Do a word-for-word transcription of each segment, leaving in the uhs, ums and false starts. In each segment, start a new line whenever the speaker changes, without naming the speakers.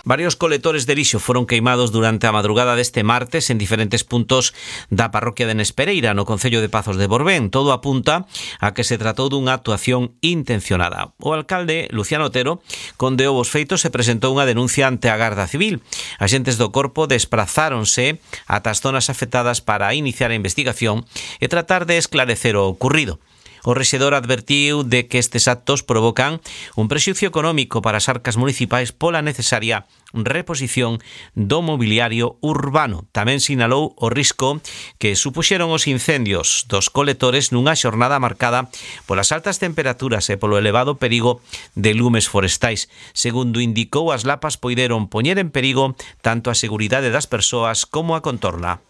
Varios colectores de lixo foron queimados durante a madrugada deste martes en diferentes puntos da parroquia de Nespereira, no concello de Pazos de Borbén. Todo apunta a que se tratou dunha actuación intencionada. O alcalde, Luciano Otero, condeou os feitos e presentou unha denuncia ante a Garda Civil. Axentes do corpo desprazáronse ata as zonas afectadas para iniciar a investigación e tratar de esclarecer o ocurrido. O rexedor advertiu de que estes actos provocan un prexuicio económico para as arcas municipais pola necesaria reposición do mobiliario urbano. Tamén sinalou o risco que supuxeron os incendios dos colectores nunha xornada marcada polas altas temperaturas e polo elevado perigo de lumes forestais. Segundo indicou, as lapas poideron poñer en perigo tanto a seguridade das persoas como a contorna.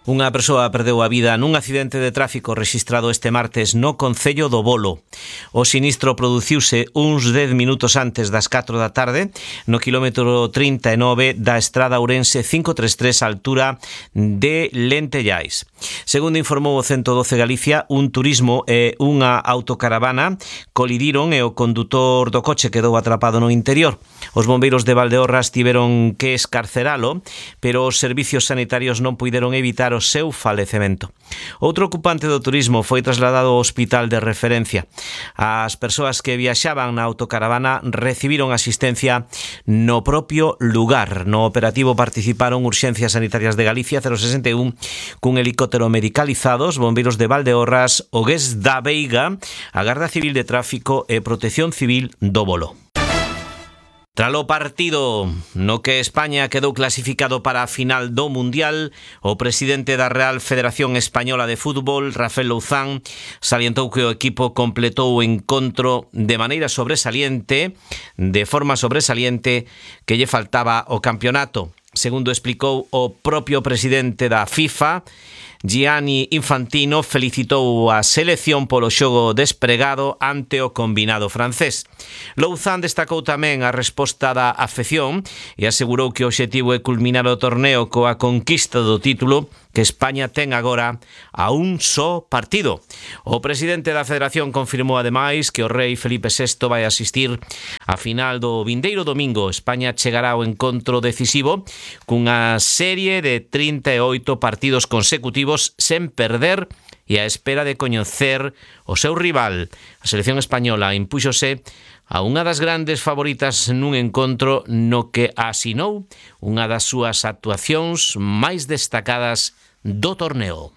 Unha persoa perdeu a vida nun accidente de tráfico rexistrado este martes no concello do Bolo. O sinistro produciuse uns dez minutos antes das catro da tarde no quilómetro trinta e nove da estrada Ourense cinco tres tres, altura de Lentellais. Segundo informou o ciento doce Galicia, un turismo e unha autocaravana colidiron e o condutor do coche quedou atrapado no interior. Os bombeiros de Valdeorras tiveron que escarceralo, pero os servicios sanitarios non puideron evitar o seu falecemento. Outro ocupante do turismo foi trasladado ao hospital de referencia. As persoas que viaxaban na autocaravana recibiron asistencia no propio lugar. No operativo participaron Urxencias Sanitarias de Galicia cero sesenta e un cun helicóptero medicalizado, os bombeiros de Valdeorras, o G E S da Veiga, a Garda Civil de Tráfico e Protección Civil do Bolo. Tralo partido no que España quedou clasificado para a final do Mundial, o presidente da Real Federación Española de Fútbol, Rafael Louzán, salientou que o equipo completou o encontro de maneira sobresaliente, de forma sobresaliente, que lle faltaba o campeonato. Segundo explicou o propio presidente da FIFA, Gianni Infantino, felicitou a selección polo xogo despregado ante o combinado francés. Louzán destacou tamén a resposta da afección e asegurou que o obxectivo é culminar o torneo coa conquista do título que España ten agora a un só partido. O presidente da Federación confirmou ademais que o rei Felipe sexto vai asistir á final do vindeiro domingo. España chegará ao encontro decisivo cunha serie de trinta e oito partidos consecutivos sen perder e á espera de coñecer o seu rival. A selección española impúxose a unha das grandes favoritas nun encontro no que asinou unha das súas actuacións máis destacadas do torneo.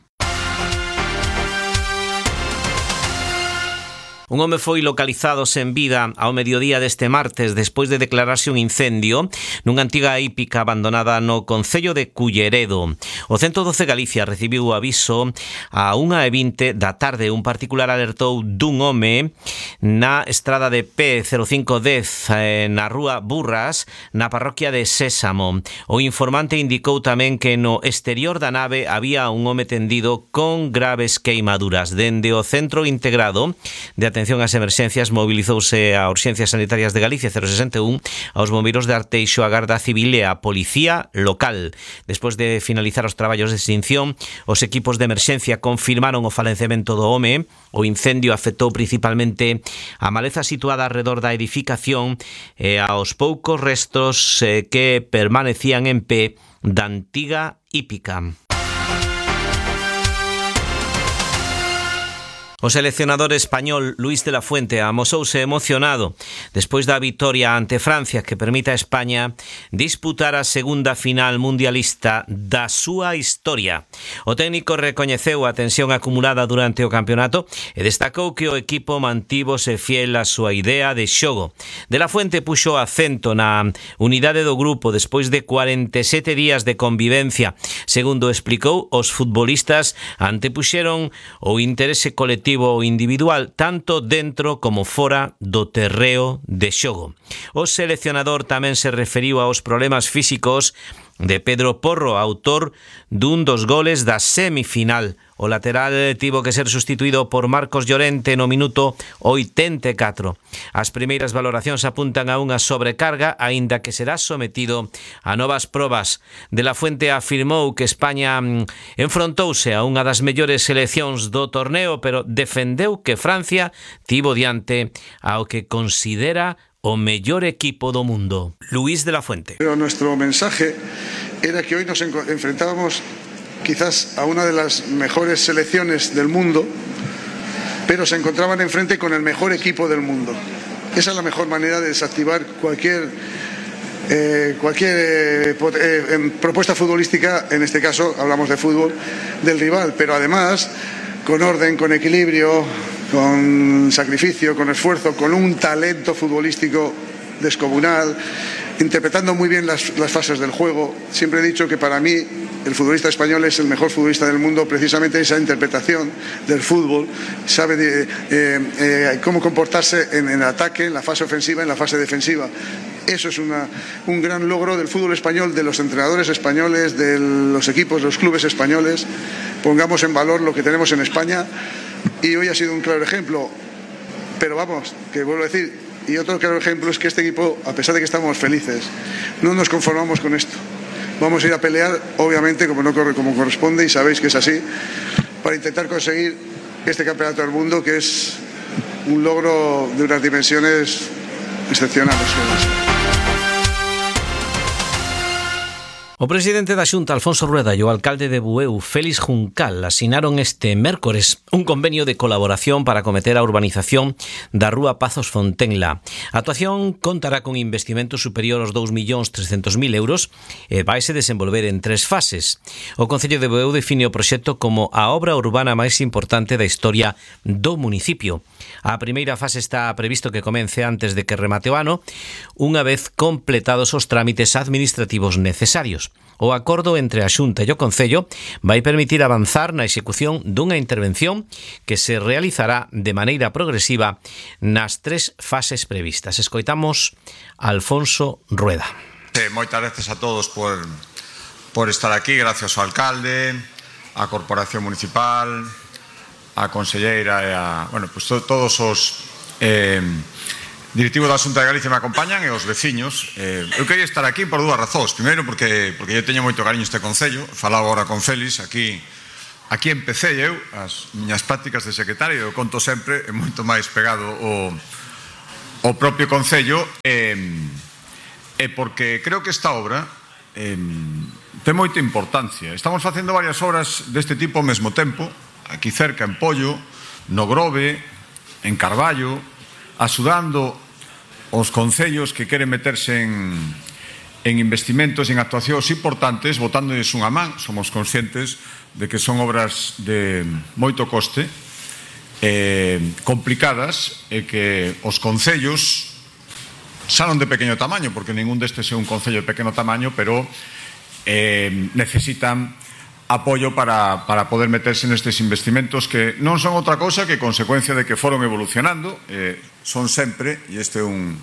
Un home foi localizado sen vida ao mediodía deste martes despois de declararse un incendio nunha antiga hípica abandonada no concello de Culleredo. O ciento doce Galicia recibiu o aviso a unha e vinte da tarde. Un particular alertou dun home na estrada de P cero cinco dez na rúa Burras, na parroquia de Sésamo. O informante indicou tamén que no exterior da nave había un home tendido con graves queimaduras. Dende o Centro Integrado de Atención ás Emerxencias mobilizouse a Urxencias Sanitarias de Galicia cero sesenta e un, aos bombeiros de Arteixo, a Garda Civil e a Policía Local. Despois de finalizar os traballos de extinción, os equipos de emerxencia confirmaron o falecemento do home. O incendio afectou principalmente a maleza situada alrededor da edificación e aos poucos restos eh, que permanecían en pé da antiga hípica. O seleccionador español Luís de la Fuente amosouse emocionado despois da vitoria ante Francia que permite a España disputar a segunda final mundialista da súa historia. O técnico recoñeceu a tensión acumulada durante o campeonato e destacou que o equipo mantívose fiel á súa idea de xogo. De la Fuente puxo acento na unidade do grupo despois de cuarenta e sete días de convivencia. Segundo explicou, os futbolistas antepuxeron o interese colectivo ou individual tanto dentro como fora do terreo de xogo. O seleccionador tamén se referiu aos problemas físicos de Pedro Porro, autor dun dos goles da semifinal. O lateral tivo que ser sustituído por Marcos Llorente no minuto oitenta e catro. As primeiras valoracións apuntan a unha sobrecarga, aínda que será sometido a novas probas. De la Fuente afirmou que España enfrontouse a unha das mellores seleccións do torneo, pero defendeu que Francia tivo diante ao que considera o mellor equipo do mundo. Luis de la Fuente.
Pero nuestro mensaje era que hoy nos enfrentábamos quizás a una de las mejores selecciones del mundo, pero se encontraban enfrente con el mejor equipo del mundo. Esa es la mejor manera de desactivar cualquier eh, cualquier eh, eh, propuesta futbolística, en este caso hablamos de fútbol, del rival, pero además con orden, con equilibrio, con sacrificio, con esfuerzo, con un talento futbolístico descomunal, interpretando muy bien las, las fases del juego. Siempre he dicho que para mí el futbolista español es el mejor futbolista del mundo, precisamente esa interpretación del fútbol, sabe de, eh, eh, cómo comportarse en, en el ataque, en la fase ofensiva, en la fase defensiva. Eso es una, un gran logro del fútbol español, de los entrenadores españoles, de los equipos, de los clubes españoles. Pongamos en valor lo que tenemos en España y hoy ha sido un claro ejemplo. Pero vamos, que vuelvo a decir, y otro claro ejemplo es que este equipo, a pesar de que estamos felices, no nos conformamos con esto. Vamos a ir a pelear, obviamente, como, no corre, como corresponde, y sabéis que es así, para intentar conseguir este campeonato del mundo, que es un logro de unas dimensiones excepcionales.
O presidente da Xunta, Alfonso Rueda, e o alcalde de Bueu, Félix Juncal, asinaron este mércores un convenio de colaboración para acometer a urbanización da Rúa Pazos Fontenla. A actuación contará con investimento superior aos dous millóns trescentos mil euros e vaise desenvolver en tres fases. O Concello de Bueu define o proxecto como a obra urbana máis importante da historia do municipio. A primeira fase está previsto que comece antes de que remate o ano, unha vez completados os trámites administrativos necesarios. O acordo entre a Xunta e o Concello vai permitir avanzar na execución dunha intervención que se realizará de maneira progresiva nas tres fases previstas. Escoitamos a Alfonso Rueda.
Eh, moitas gracias a todos por, por estar aquí, gracias ao alcalde, á Corporación Municipal, a conselleira e a, bueno, pues to, todos os eh, directivos da Xunta de Galicia me acompañan e os veciños. Eh, eu quería estar aquí por dúas razóns. Primeiro, porque, porque eu teño moito cariño este concello. Falaba agora con Félix, aquí aquí empecé eu as miñas prácticas de secretario, eu conto sempre, é moito máis pegado o, o propio concello, e, e porque creo que esta obra eh, ten moita importancia. Estamos facendo varias obras deste tipo ao mesmo tempo, aquí cerca en Pollo, no Grove, en Carballo, axudando os concellos que queren meterse en, en investimentos, en actuacións importantes, botándoles unha man. Somos conscientes de que son obras de moito coste, eh, complicadas, e que os concellos saron de pequeno tamaño, porque ningún destes é un concello de pequeno tamaño, pero eh, necesitan apoio para, para poder meterse nestes investimentos que non son outra cosa que consecuencia de que foron evolucionando, eh, son sempre, e este é un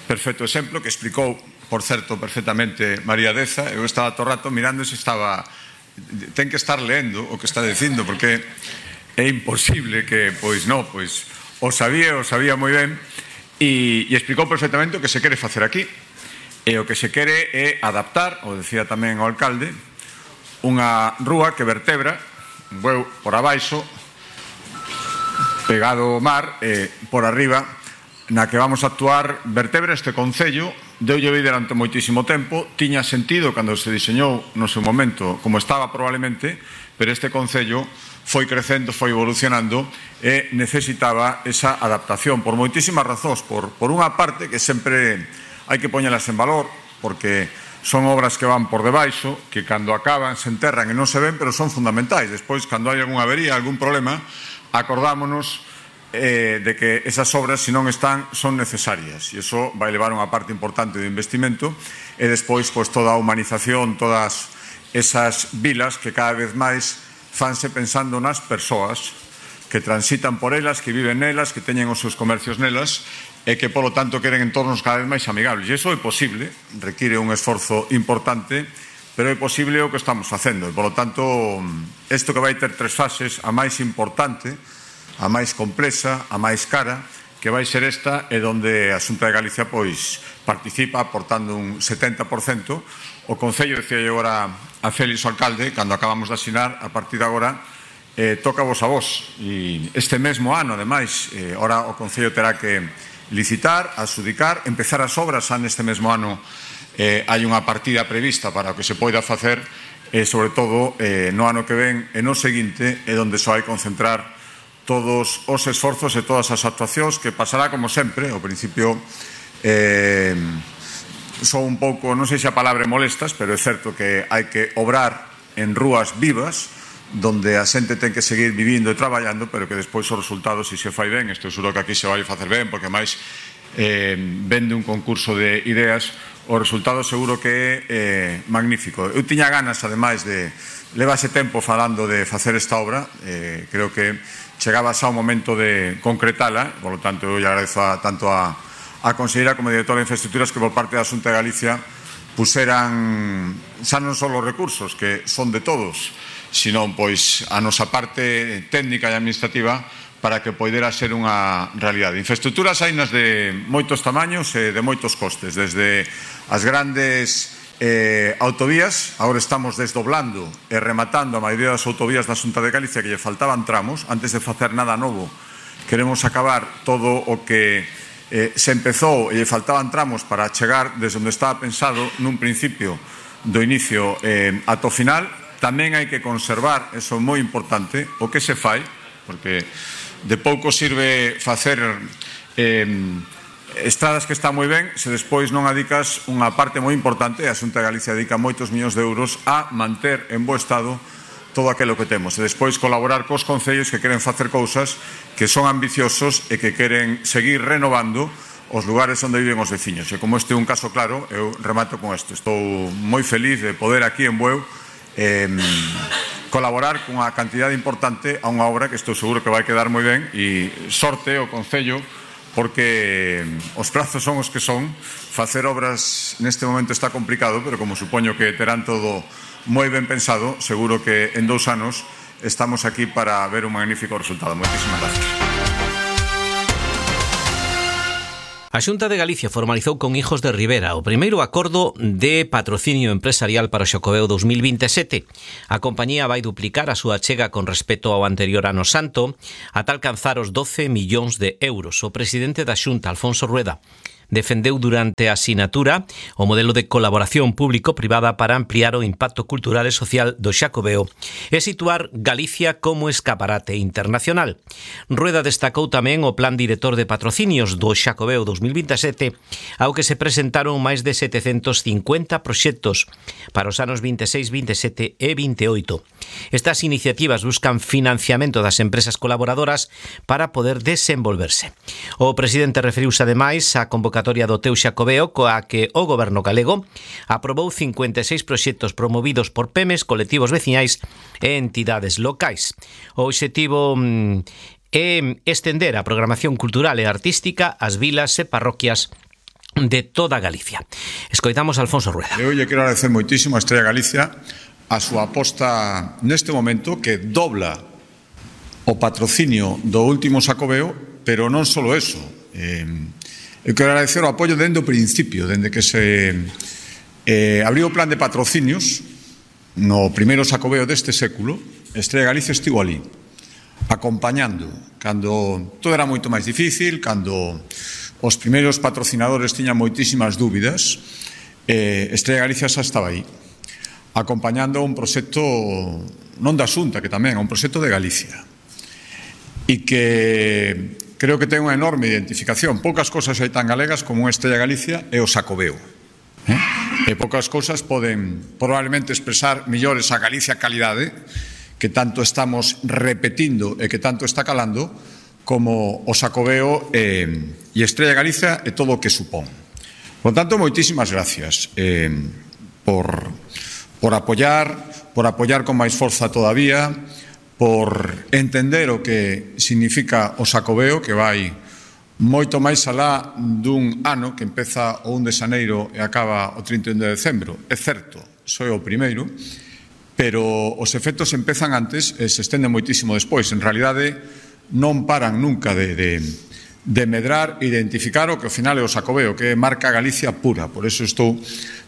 perfecto exemplo que explicou, por certo, perfectamente María Deza. Eu estaba todo rato mirando se estaba, ten que estar leendo o que está dicindo, porque é imposible que, pois non, pois o sabía, o sabía moi ben, e, e explicou perfectamente o que se quere facer aquí, e o que se quere é adaptar, o decía tamén o alcalde, unha rúa que vertebra Bueu por abaixo, pegado ao mar, e por arriba, na que vamos a actuar, vertebra este concello. Deulle vida durante moitísimo tempo, tiña sentido cando se diseñou no seu momento como estaba probablemente, pero este concello foi crecendo, foi evolucionando e necesitaba esa adaptación por moitísimas razóns. Por, por unha parte, que sempre hai que poñelas en valor, porque son obras que van por debaixo, que cando acaban se enterran e non se ven, pero son fundamentais. Despois, cando hai algunha avería, algún problema, acordámonos eh, de que esas obras, se non están, son necesarias. E iso vai levar unha parte importante do investimento, e despois, pois, toda a humanización, todas esas vilas que cada vez máis fanse pensando nas persoas que transitan por elas, que viven nelas, que teñen os seus comercios nelas, e que, polo tanto, queren entornos cada vez máis amigables. E iso é posible, require un esforzo importante, pero é posible o que estamos facendo. E, polo tanto, isto que vai ter tres fases, a máis importante, a máis complexa, a máis cara, que vai ser esta, é onde a Xunta de Galicia pois participa aportando un setenta por cento. O Concello, decía eu agora a Félix, o alcalde, cando acabamos de asinar, a partir de agora, eh, toca vos a vos. E este mesmo ano, ademais, eh, ora o Concello terá que licitar, adxudicar, empezar as obras. Xa neste mesmo ano eh, hai unha partida prevista para o que se poida facer, e sobre todo eh, no ano que ven e no seguinte é onde só hai concentrar todos os esforzos e todas as actuacións, que pasará como sempre. Ao principio eh, son un pouco, non sei se a palabra molestas, pero é certo que hai que obrar en rúas vivas donde a xente ten que seguir vivindo e traballando, pero que despois os resultados, se se fai ben, estou seguro que aquí se vai facer ben, porque máis eh, vende un concurso de ideas, o resultado seguro que é eh, magnífico. Eu tiña ganas, ademais, de levase tempo falando de facer esta obra, eh, creo que chegaba xa o momento de concretala, por lo tanto, eu lle agradezo a, tanto a, a conselleira como a directora de infraestructuras que por parte da Xunta de Galicia puseran xa non só os recursos, que son de todos, sino pois a nosa parte técnica e administrativa para que poidera ser unha realidade. Infraestructuras hainas de moitos tamaños e de moitos costes, desde as grandes eh, autovías. Agora estamos desdoblando e rematando a maioría das autovías da Xunta de Galicia, que lle faltaban tramos. Antes de facer nada novo, queremos acabar todo o que eh, se empezou e lle faltaban tramos para chegar desde onde estaba pensado nun principio do inicio eh, ata o final. Tamén hai que conservar, eso é moi importante, o que se fai, porque de pouco sirve facer eh, estradas que están moi ben se despois non adicas unha parte moi importante. A Xunta de Galicia dedica moitos millóns de euros a manter en bo estado todo aquilo que temos e despois colaborar cos concellos que queren facer cousas que son ambiciosos e que queren seguir renovando os lugares onde viven os veciños. E como este é un caso claro, eu remato con isto. Estou moi feliz de poder aquí en Bueu eh, colaborar cunha cantidade importante a unha obra que estou seguro que vai quedar moi ben, e sorte o Concello, porque os prazos son os que son. Facer obras neste momento está complicado, pero como supoño que terán todo moi ben pensado, seguro que en dous anos estamos aquí para ver un magnífico resultado. Moitísimas gracias.
A Xunta de Galicia formalizou con Hijos de Ribera o primeiro acordo de patrocinio empresarial para o Xacobeo dos mil vinte e sete. A compañía vai duplicar a súa achega con respecto ao anterior ano santo ata alcanzar os doce millóns de euros. O presidente da Xunta, Alfonso Rueda, defendeu durante a sinatura o modelo de colaboración público-privada para ampliar o impacto cultural e social do Xacobeo e situar Galicia como escaparate internacional. Rueda destacou tamén o Plan Director de Patrocinios do Xacobeo dos mil vinte e sete, ao que se presentaron máis de setecentos cincuenta proxectos para os anos vinte e seis, vinte e sete e vinte e oito. Estas iniciativas buscan financiamento das empresas colaboradoras para poder desenvolverse. O presidente referiuse ademais á convocatoria do Teu Xacobeo, coa que o Goberno galego aprobou cincuenta e seis proxectos promovidos por P E M Es, colectivos veciñais e entidades locais. O obxectivo mm, é estender a programación cultural e artística ás vilas e parroquias de toda Galicia. Escoitamos a Alfonso Rueda.
Eu lle quero agradecer moitísimo a Estrella Galicia a súa aposta neste momento, que dobla o patrocinio do último Xacobeo, pero non só eso. Eh, Eu quero agradecer o apoio dende o principio, dende que se eh, abriu o plan de patrocinios no primeiro Xacobeo deste século. Estrella Galicia estivo ali, acompañando, cando todo era moito máis difícil, cando os primeiros patrocinadores tiñan moitísimas dúbidas. eh, Estrella Galicia xa estaba aí, acompañando un proxecto non da Xunta, que tamén é un proxecto de Galicia, e que creo que ten unha enorme identificación. Poucas cousas hai tan galegas como unha Estrella Galicia e o Xacobeo. Eh? E poucas cousas poden probablemente expresar millores a Galicia calidade, que tanto estamos repetindo e que tanto está calando, como o Xacobeo e, e Estrella Galicia e todo o que supón. Por tanto, moitísimas gracias eh, por, por apoiar, por apoiar con máis forza todavía, por entender o que significa o Xacobeo, que vai moito máis alá dun ano que empeza o un de xaneiro e acaba o trinta e un de decembro. É certo, só é o primeiro, pero os efectos empezan antes e se estenden moitísimo despois. En realidade, non paran nunca de, de, de medrar e identificar o que ao final é o Xacobeo, que é marca Galicia pura. Por eso estou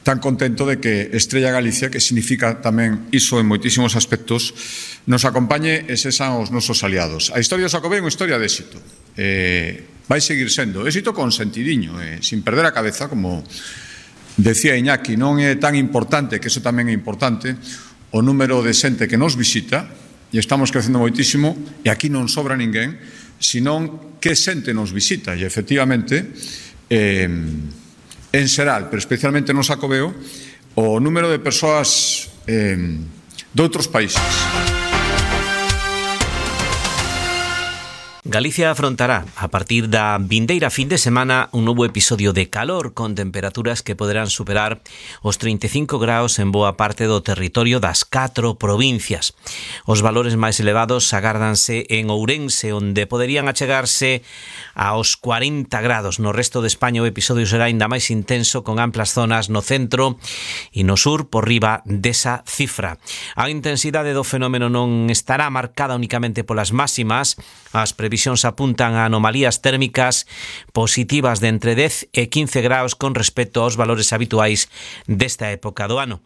tan contento de que Estrella Galicia, que significa tamén iso en moitísimos aspectos, nos acompañe e sexan os nosos aliados. A historia do Xacobeo é unha historia de éxito. Eh, vai seguir sendo éxito con sentidiño, eh, sin perder a cabeza, como decía Iñaki. Non é tan importante, que eso tamén é importante, o número de xente que nos visita, e estamos crecendo moitísimo, e aquí non sobra ninguén, senón que xente nos visita. E, efectivamente, eh, en xeral, pero especialmente no Xacobeo, o número de persoas eh, de outros países.
Galicia afrontará, a partir da vindeira fin de semana, un novo episodio de calor con temperaturas que poderán superar os trinta e cinco graus en boa parte do territorio das catro provincias. Os valores máis elevados agárdanse en Ourense, onde poderían achegarse aos cuarenta grados. No resto de España o episodio será ainda máis intenso, con amplas zonas no centro e no sur por riba desa cifra. A intensidade do fenómeno non estará marcada únicamente polas máximas. As previsións apuntan a anomalías térmicas positivas de entre dez e quince graus con respecto aos valores habituais desta época do ano.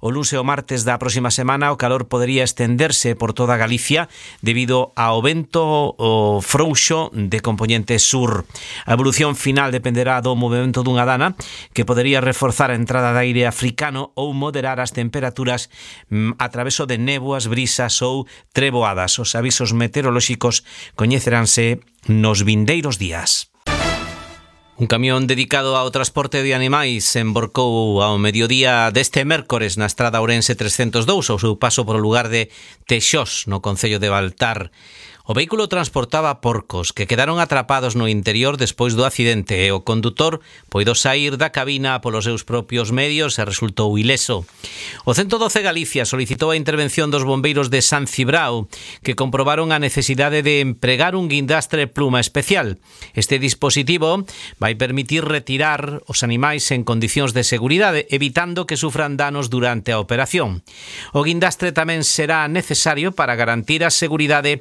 O luns e o martes da próxima semana o calor podería estenderse por toda Galicia debido ao vento o frouxo de compoñente sur. A evolución final dependerá do movimento dunha dana que podería reforzar a entrada de aire africano ou moderar as temperaturas a traveso de néboas, brisas ou treboadas. Os avisos meteorolóxicos coñeceránse nos vindeiros días. Un camión dedicado ao transporte de animais emborcou ao mediodía deste mércores na estrada Ourense trescentos e dous ao seu paso por o lugar de Texós, no concello de Baltar. O vehículo transportaba porcos que quedaron atrapados no interior despois do accidente e o condutor poido saír da cabina polos seus propios medios e resultou ileso. O ciento doce Galicia solicitou a intervención dos bombeiros de San Cibrao, que comprobaron a necesidade de empregar un guindastre pluma especial. Este dispositivo vai permitir retirar os animais en condicións de seguridade, evitando que sufran danos durante a operación. O guindastre tamén será necesario para garantir a seguridade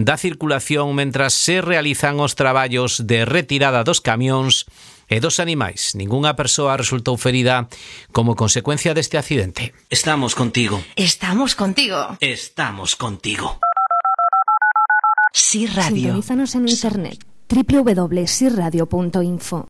da circulación mentras se realizan os traballos de retirada dos camións e dos animais. Ningunha persoa resultou ferida como consecuencia deste accidente. Estamos contigo.
Estamos contigo.
Estamos contigo.
Sí Radio. Sintonízanos en internet. doble u doble u doble u punto sí radio punto info.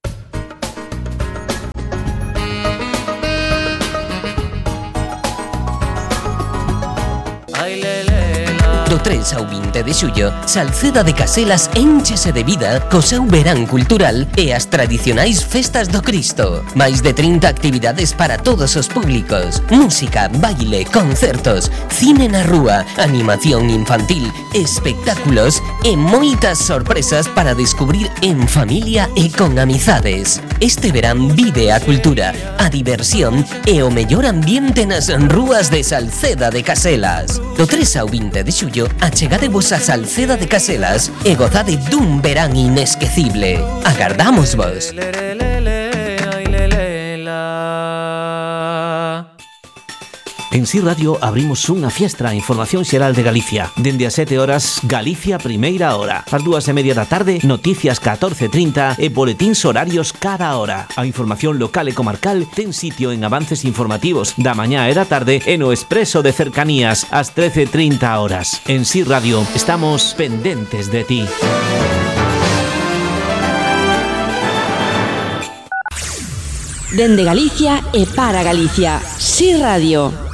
Do tres ao vinte de xullo, Salceda de Caselas énchese de vida co seu verán cultural e as tradicionais festas do Cristo. Mais de trinta actividades para todos os públicos. Música, baile, concertos, cine na rúa, animación infantil, espectáculos e moitas sorpresas para descubrir en familia e con amizades. Este verán vive a cultura, a diversión e o mellor ambiente nas rúas de Salceda de Caselas. Do tres ao vinte de xullo, achegadevos a Salceda de Caselas e gozade dun verán inesquecible. Agardámosvos.
En Sí Radio abrimos unha fiestra a información xeral de Galicia. Dende as sete horas, Galicia Primeira Hora. Ás dúas e media da tarde, noticias catorce e trinta e boletíns horarios cada hora. A información local e comarcal ten sitio en avances informativos da mañá e da tarde e no expreso de cercanías ás trece e trinta horas. En Sí Radio estamos pendentes de ti.
Dende Galicia e para Galicia. Sí Radio.